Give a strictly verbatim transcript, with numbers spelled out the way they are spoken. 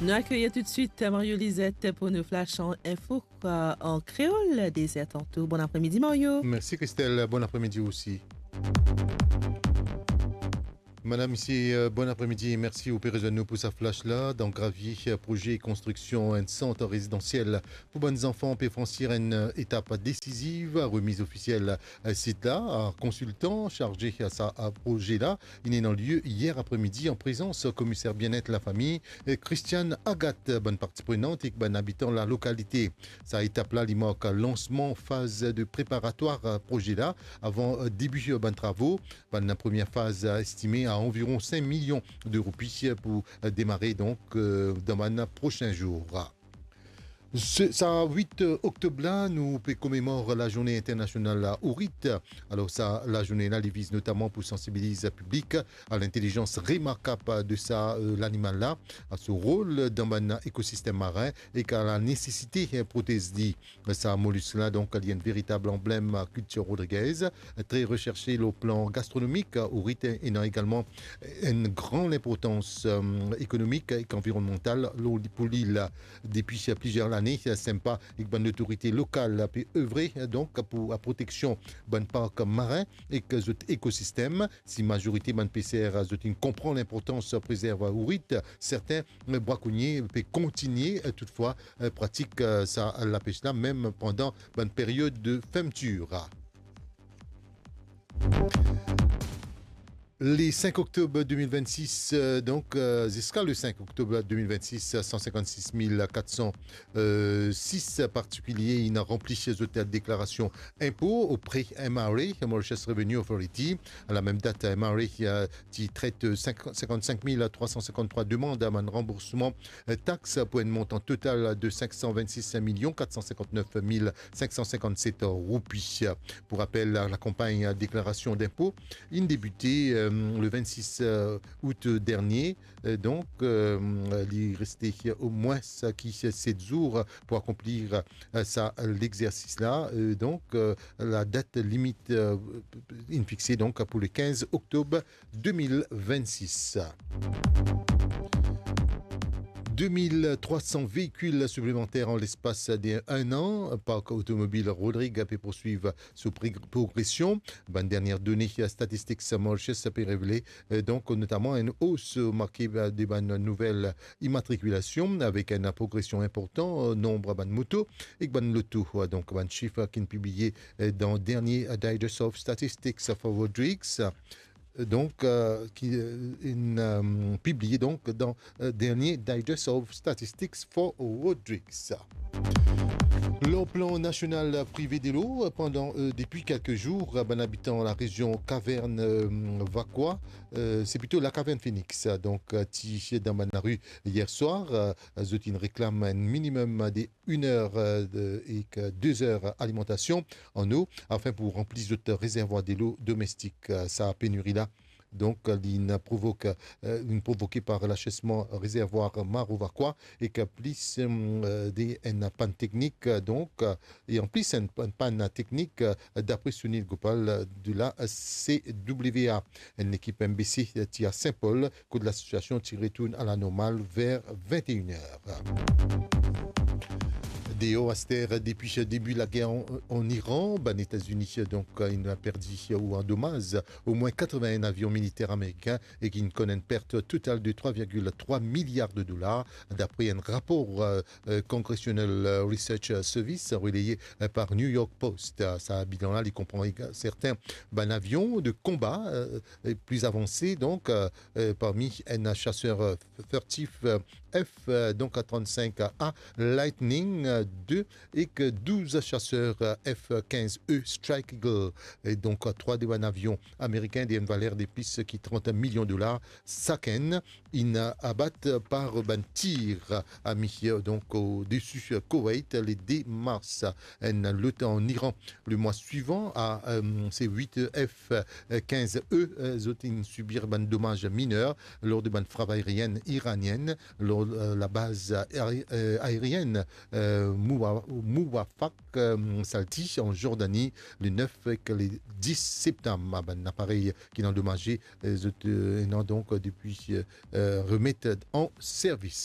Nou akeyir toutswit Mario Lizette pou nou flash an info, euh, an kreol, dezertan tou. Bon apremidi, Mario. Mersi, Christelle. Bon apremidi osi. Madam, misie, euh, bon apremidi e mersi ou pe rezwenn nou pou sa flash la. Dan Gravier, euh, proze konstriksion enn sant rezidansiel pou bann zanfan pe fransir enn, euh, etap desiziv. Remiz ofisiel, euh, sit la a konsiltan sarze sa, euh, proze la. Inn ena lye yer apremidi an prezans komiser bienet lafami, euh, Christiane Agathe, bann parti prenant ek bann abitan lalokalite. Sa etap la, li mark lansman faz de preparatwar, euh, proze la, avan, euh, debi, euh, bann travo. Bann premie faz, euh, estime a anviron sink milion de roupi, euh, pou, euh, demare, donk, euh, dan bann prosin zour. Se, sa wit oktob la, nou pe komemor Lazourne Internasional Ourit. Alor sa lazourne la, li viz notaman pou sansibiliz piblik a lintelizans remarkab de sa, euh, lanimal la, a so rol dan bann ekosistem marin ek a la nesesite, euh, protez li. Sa molisk la, donk, li enn veritab anblem kiltir rodrigez, tre reserse lor plan gastronomik. Ourit ena egalman enn gran linportans, euh, ekonomik ek anvironnmantal lor, pou lil. Depi plizier lane, SEMPA ek bann lotorite lokal pe evre, donk, pou la proteksion bann park marin ek zot ekosistem. Si mazorite bann peser, zot inn konpran linportans prezerv ourit, serten brakonie pe kontigne, toutfwa, pratik sa lapes la, mem pandan bann period de fermetir. Le cinq octobre deux mille vingt-six, euh, donc, euh, jusqu'à le cinq octobre deux mille vingt-six, cent cinquante-six mille quatre cent six partikilie inn ranpli zot deklarasion inpo opre M R A, Mauritius Revenue Authority. A la mem dat, M R A, euh, ti tret cinq, cinquante-cinq mille trois cent cinquante-trois demann a bann ranboursman, euh, tax pou enn montan total de cinq cent vingt-six millions quatre cent cinquante-neuf mille cinq cent cinquante-sept roupi. Pou rapel, la, lakanpagn deklarasion dinpo inn debite, euh, le vingt-six, euh, out dernie. Euh, donk, euh, li reste omwin ki set zour pou akonplir, euh, sa lexersis la. Euh, donk, euh, la dat limit, euh, inn fixe donk pou le quinze octobre deux mille vingt-six. Deux mille trois cents véhicules supplémentaires en l'espace de un an. Park otomobil Rodrig pe poursuiv so prog-, progresion. Bann dernie done Statistics Mauritius pe revele, euh, donk, notaman enn os marke, euh, de bann nouvel imatrikilasion, avek enn progresion inportan, euh, nonb bann moto ek bann loto. Euh, donk, bann sif ki inn pibliye, euh, dan dernie Digest of Statistics for Rodrigues. Euh, donk, euh, ki, euh, inn, euh, pibliye, donk, dan, euh, dernie Digest of Statistics for Rodrigues. Lor plan nasional prive delo, pandan, euh, depi kelke zour, bann abitan larezion Kavern, euh, Vakwa, euh, se plito Lakavern Phoenix, donk, euh, ti dan bann lari yer swar, euh, zot inn reklam enn minimem de inn er, euh, de, ek de zer alimantasion an lo, afin pou ranpli zot rezervwar delo domestik. Euh, sa peniri la, donk, li inn provok, euh, inn provoke par lasesman rezervwar Maro Vakwa, ek plis, euh, de enn pann teknik, donk, euh, e anplis enn, enn pann teknik, euh, dapre Sunil Gopal, euh, de la C W A. Enn lekip M B C ti a Saint-Paul, kot lasitiasion ti retourn a la normal ver vingt et une er. Deor aster, depi debi lager an, an Iran, bann Etazini, donk, inn perdi ou andomaz omwin katrevin-enn avion militer amerikin e ki inn konn enn pert total de trwa virgil trwa miliar de dolar, dapre enn rapor, euh, euh, Congressional, euh, Research Service releye, euh, par New York Post. Euh, sa bilan la, li konpran ega-, serten bann avion de konba, euh, e pli avanse, donk, euh, euh, parmi enn chaser, euh, furtif, euh, F, euh, donk, trant-sink A Lightning, euh, de, ek douz chaser, euh, F kinz E Strike Eagle. E donk, trwa de bann avion amerikin de enn valer de plis ki trant milion dolar sakenn, inn abat par bann tir ami, donk, odesi Koweït, le de mars. Enn lot an Iran, le mwa swivan, a, euh, se wit F kinz E, euh, zot inn sibir bann domaz miner lor de bann frav aerienn iranienn, lor, euh, labaz aeri-, euh, aerienn, euh, Muwa-, Muwafaq, euh, Salti, an Jordani, le nef ek le dis septam. Bann aparey ki inn andomaze, euh, zot, euh, ena donk, euh, depi, euh, euh, remet an servis.